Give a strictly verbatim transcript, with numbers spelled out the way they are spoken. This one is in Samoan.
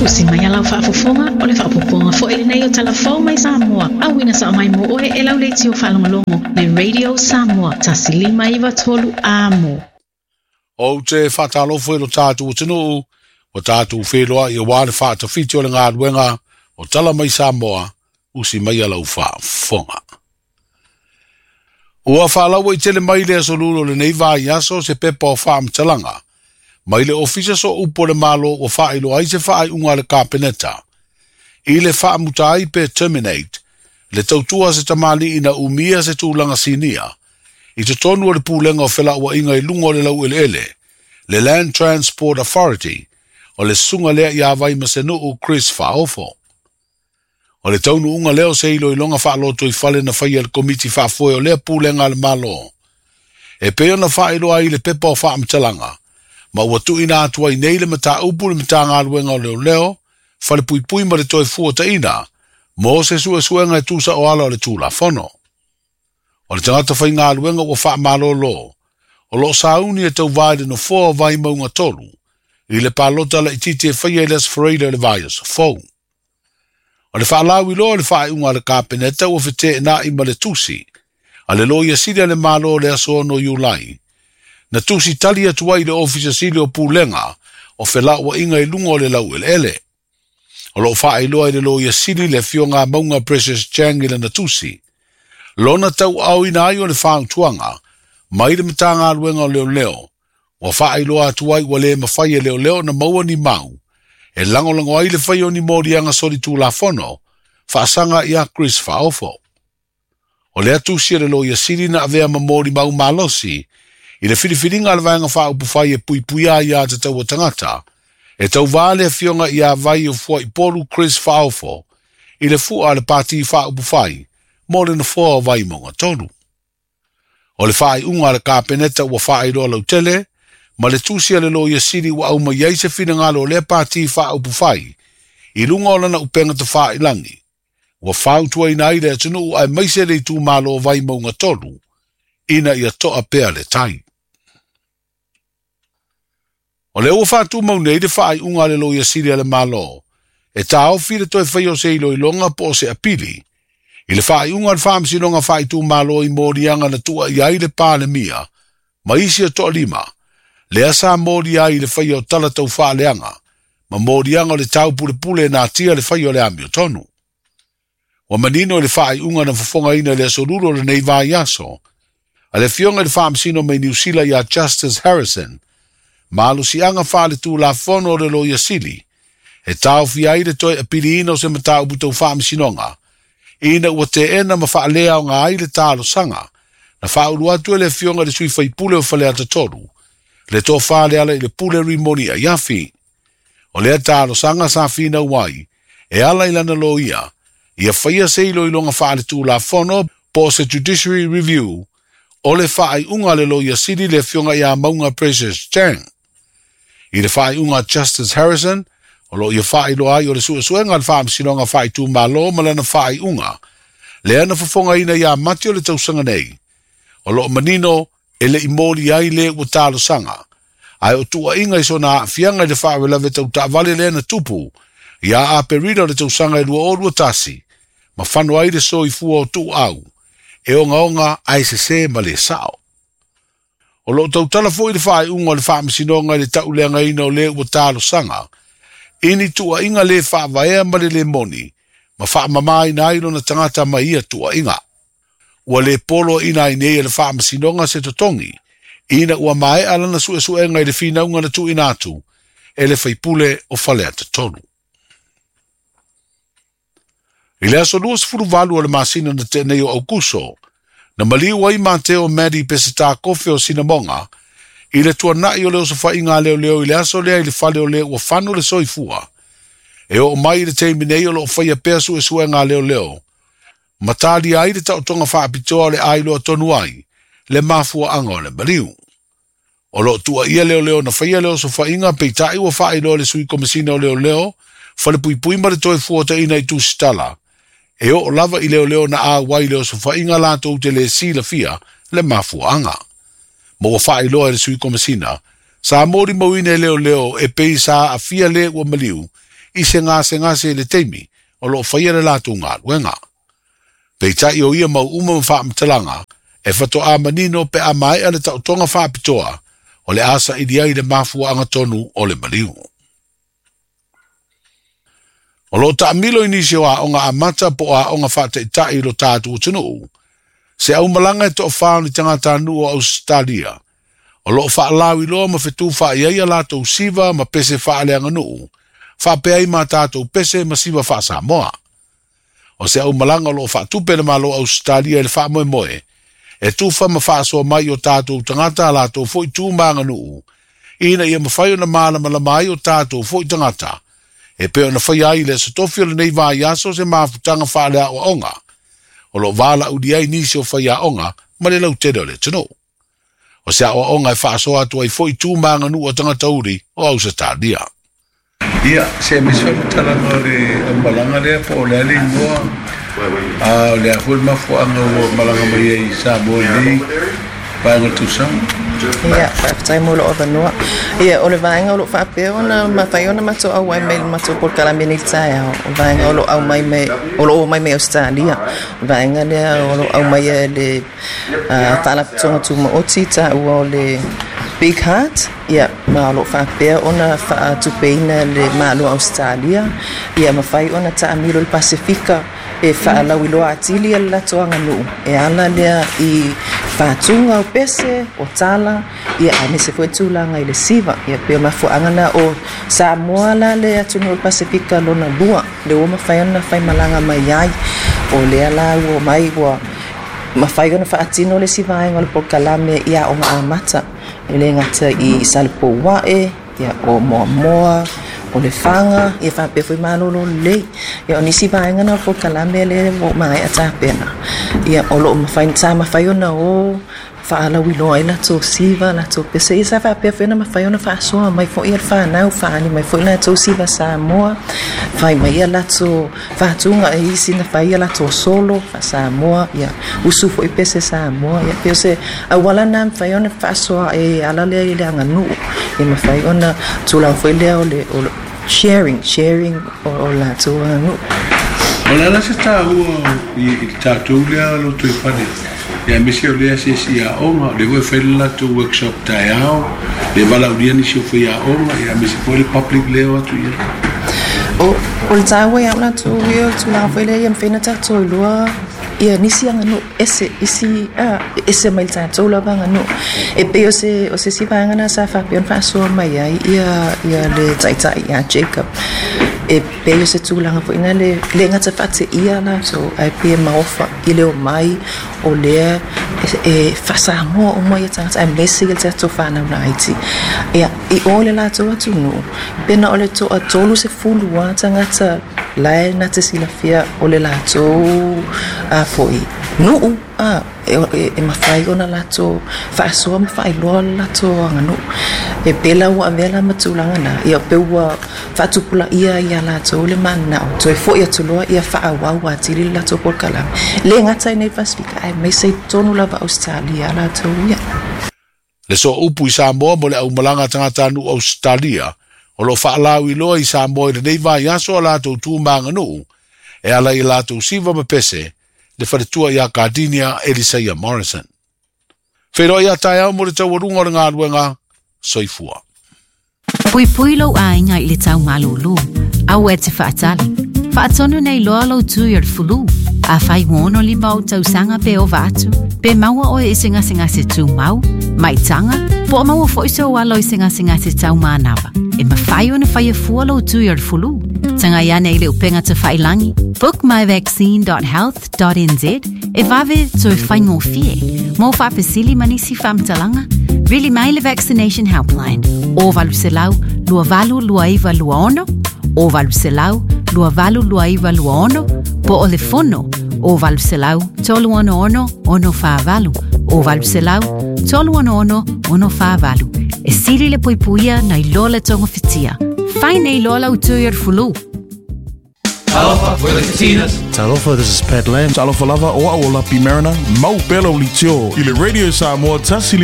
Usi mai alau faafofoga o le faapopoga foi lenei o Talafou mai Samoa. Auina sa mai mo oe e lau leitio faalogologo le Radio Samoa tasi lima iva tolu amo. Ou te whaatalofo i lo tātou atunuu, o tātou wheloa i o wā le whaatawhiti o le ngāluenga o Tala Mai Samoa, usi mai alau faafofoga. Ua whaalaua i tele mai le aso lulo le nei vai aso se pepa o whaamtalanga. Mai le ofisa so upo le malo o whailo ai se whaai unga le kapeneta. I le whaamutai pe terminate, le tautua se tamali ina umia se tūlanga sinia. I te tonu o le pūlenga o whela ua inga i lunga o le lau ele ele, le Land Transport Authority, o le sunga lea i awai masenuu Chris Whaofo. O le taunu unga leo se ilo ilonga whaaloto i whale na whaia le komiti whaafoe o lea pūlenga le malo. E peo na whaeloa i le pepa o whaamtalanga, ma ua tuina atua i nei le mata upu le mata ngāluenga o leo leo, whale pui pui ma le toi fua taina, mo se sue suenga e tūsa o ala o le tūla fono. O le tangata whai ngāluenga ua whaamalolo, o lo sauni e tau vai le no foa vai maunga tolu, i le pālota la ititi e whaia i les Freida le vai o fou. O le whaalawi loa le whaeunga le kapeneta ua white nā i ma le tusi, a le loia sili a le malo le aso no Iulai. Na tusi tali atu ai le ofisa sili o pūlenga, o whela ua inga i lunga o le lau ele ele. O lo whaeloa i le loia sili le fionga maunga Precious Chang i le na tusi. Lona tau au ina ai o le whaantuanga, mai le matanga aluenga o leo leo, ua whaeloa atu ai ua le mawhai e leo leo na maua ni mau. E langolango ai le whai o ni morianga sori tūlafono, whaasanga ia Chris Whaofo. O lea tusi le loia sili na avea mamori mau malosi, i le whiriwhiringa le vaenga whaaupuwhai e puipuia ia te taua tangata, e tau vāle fionga ia vai o fua i polu Chris Whaofo, i le fua le pāti whaaupuwhai, mō le na fua o vai monga tonu. O le whaai unga le kapeneta ua whaairoa lautele, ma le tusi le loia sili ua au mai ai se whinangalo o lea pāti whaaupuwhai, i lunga o lana upenga te whaailangi, ua whautua ina ai le atunuu ai maise le tū malo vai maunga tolu, ina ia toa pea le tai. O le ua whātū mau nei le whaai unga le loia sili a le malo, e tāofi le toi whai o se ilo ilonga po o se apili, i le whaai unga le whaamsinonga whaai tū malo i mōrianga na tua i ai le pāle mia, ma isi o toa lima, lea sa mōri ai le whai o tala tau whaaleanga, ma mōrianga o le tau pule pule nā tia le whai o le amio tonu. Wa manino le whaai unga na whafonga ina le asoluro le nei vai aso, a le fionga le whaamsino mei New Zealand ia Justice Harrison, malu si anga whaale tū la fono o le loia sili, e tāofi ai le toi apili ina o se mata upu tau whaamsinonga, ina ua te ena ma whaalea o ngā ai le tālo sanga, na whaulu atu e le fionga le sui whaipule o whaleata tolu, le tō whaale ala i le pule rimoni a iafi. O lea tālo sanga sa whina wai, e ala i lana loia, ia whaia se ilo ilonga whaale tū la fono po se Judiciary Review, o le whaai unga le loia sili le fionga ia maunga Precious Chang. I le whaai unga Justice Harrison, o lo ia whaai loa ai o le suesuenga le whaamsinonga whaai tū malo ma lana whaai unga, le ana whafonga ina ia mati o le tausanga nei. O lo manino e le i mōri ai le ua tālo sanga. Ai o tua inga i sona fianga i le whaawelave tau taavale le na tupu, ia a perida o le tausanga i lua o lua tasi, ma whano ai le so i fua o tū au, e onga onga ai se se ma le sao. O lo tautala fo i le whaai unga o le whaamsinonga i le tauleanga ina o le ua tālo sanga, ini tua inga le whaavaea ma le le moni, ma whaamama ina ai lona tangata ma ia tua inga. Ua le polo ina i nei e le whaamasinonga se totongi, ina ua mae alana suesuenga i le whinaunga na tuina atu, e le whaipule o whaleata tonu. I le aso lua sefulu valu o le masina na tēnei o Aukuso, na maliu ai Mateo Madi Peseta kofe o Sinamonga, i le tuanai o le osowhainga leo leo i le aso lea i le whale o le ua whano le soifua. E o mai i le teimi nei o lo whaia pea suesuenga leo leo, matali ai le tautonga whaapitoa le ailoa tonu ai, le mafua anga o le maliu. O lo tua ia leo leo na whaia leo sowhainga peitai ua whaailoa le sui komisina o leo leo, whale pui pui ma le toi fua ta ina i tūsitala. E o lava i leo leo na a wai leo sowhainga lātou te le sila fia le mafua anga. Mo ua whaailoa e le sui komisina, sa mori mauina e leo leo e pei sa a fia le ua maliu, I se gasegase i le taimi o loo faia le latou galuega. Peitai o ia mau uma ma faamatalaga e fatoā manino pe a maea le taotoga faapitoa o le a saili ai le mafuaaga tonu o le maliu. O loo taamilo i nisi o aoga amata po o aoga faataitai i lo tatou atunuu se aumalaga e toafā o ni tagatanuu o Ausetalia o loo faalauiloa ma fetufaai ai a latou siva ma pese faaleaganuu faapea ai ma tatou pese ma siva faasamoa. O se aumalaga o loo faatupe le Malo Ausetalia i le faamoemoe e tufa ma faasoa mai o tatou tagata a latou foi tu ma aganuu ina ia mafai ona malamalama ai o tatou foi tagata e pei ona faia ai le aso tofi o lenei vaiaso se mafutaga faaleaoaoga o loo valaaulia ai nisi o faiaoga ma le lautele o le atunuu. O se aoaoga e faasoa atu ai foi tu ma aganuu a tagata uli o Ausetalia. Ia, se misi faamatalaga o le aumalaga lea po o le a le igoa a o le a foi le mafuaaga ua malaga mai ai i Samoa i lenei vaega o le tausaga. Ia, faafetai mo lou avanoa. Ia, o le vaega o loo faapea ona mafai ona matou auai mai le matou polokalame nei le taeao. O vaega o loo aumai mai o loo omai mai Ausetalia. O vaega lea o loo aumai e le Faalapotopotoga Tumaoti taua o le Big Heart, ia, ma o loo faapea ona faatupeina le Malo Ausetalia ia mafai ona taamilo i le Pasefika e faalauiloa atili le latou aganuu e ala lea i faatuga o pese o tala ia aemaise foi tulaga i le siva. Ia pei o mafuaaga na o Samoa la le atunuu o le Pasefika lona lua le ua mafai ona faimalaga mai ai. O lea la ua mai ua mafai ona faatino le isi vaega o le polokalame i aoga amata e le gata i Salepouae, ia o Moamoa, o Lefaga, ia faapea foi Malolo lelei. Ia o nisi vaega na o le polokalame lea ua maea tapena. Ia o loo mafai sa mafai ona o faalauiloa ai latou siva latou pese. Ia sa faapea foi ona mafai ona faasoa mai foi ia le fanau faaali mai foi latou siva Samoa, fai mai ia latou faatuga e isi na fai ia latou solo faa-Samoa, ia usu foi pese Samoa. Ia pei o se auala na mafai ona faasoa e ala lea i le aganuu ia mafai ona tulaga foi lea o le o le sharing sharing o, o latou aganuu. O le ala se taua i i le tatou lea lotoifale ia aemaise o lea asiasi aoga o lea foi e fai le latou workshop taeao le valaaulia nisi o faiaoga ia aemaise foi le public lea o atu i ai. O, o le taua ia o latou ia o le tulaga foi lea ia mafai ona tatou iloa ia nisi aganuu ese isi a ese mai le tatou lava aganuu. E pei o se o se isi vaega na sa faapea ona faasoa mai ai ia ia le taitai ia Jacob. E pei o se tulaga foi na le le gata faateia latou ae pei e maofa i le omai o lea e faasamoa uma ia tagata aemaise le tatou fanau laiti. Ia i o le latou atunuu pe na o le toatolu sefulu a tagata lae na te silafia o le latou a foi nuu a e, e, e mafai ona latou faasoa ma faailoa le latou aganuu. E pei la ua avea la ma tulaga na ia pe ua faatupulaia ia latou le mananao toe foi atu loa ia faaauau atili le latou polokalame le gata i nei Pasefika aemaise i totonu lava Ausetalia latou ia. Le sooupu i Samoa mo le aumalaga a tagatanuu Ausetalia o loo faalauiloa i Samoa i lenei vaiaso a latou tu ma aganuu e ala i latou siva ma pese le faletua ia Cardinia Elisaia Morrison. Feiloai a taeao mo le taualuga o le galuega soifua. Puipui lou aiga i le tau malūlū. Aua e te faatali. Faatonu nei loa lou tui o le fulu. Afai ua ono lima ou tausaga pe ova atu, pe maua oe i se gasegase tumau, maitaga, po o maua foi sou alo i se gasegase taumanava. E mafai ona faia fua lou tui o le fulu. Tagai ane i le upega tafailagi book my vaccine dot health dot n z e vave toe faigofie. Mo faafesili ma nisi faamatalaga, vili mai le Vaccination Helpline o valu selau lua valu lua iva lua ono, o valu selau lua valu lua iva lua ono, po o le fono o valu selau tolu ono ono ono whaavalu, o valu selau tolu ono ono ono whaavalu. E sili le puipuia nei loa le tonga fitia. Fai nei loa lau tui o le fulu. Talofa, we're the Katinas. Talofa, this is Pat Lam. Talofa lava o au o Lapi Mariner, mau pela o litio. I le Radio Samoa, tasi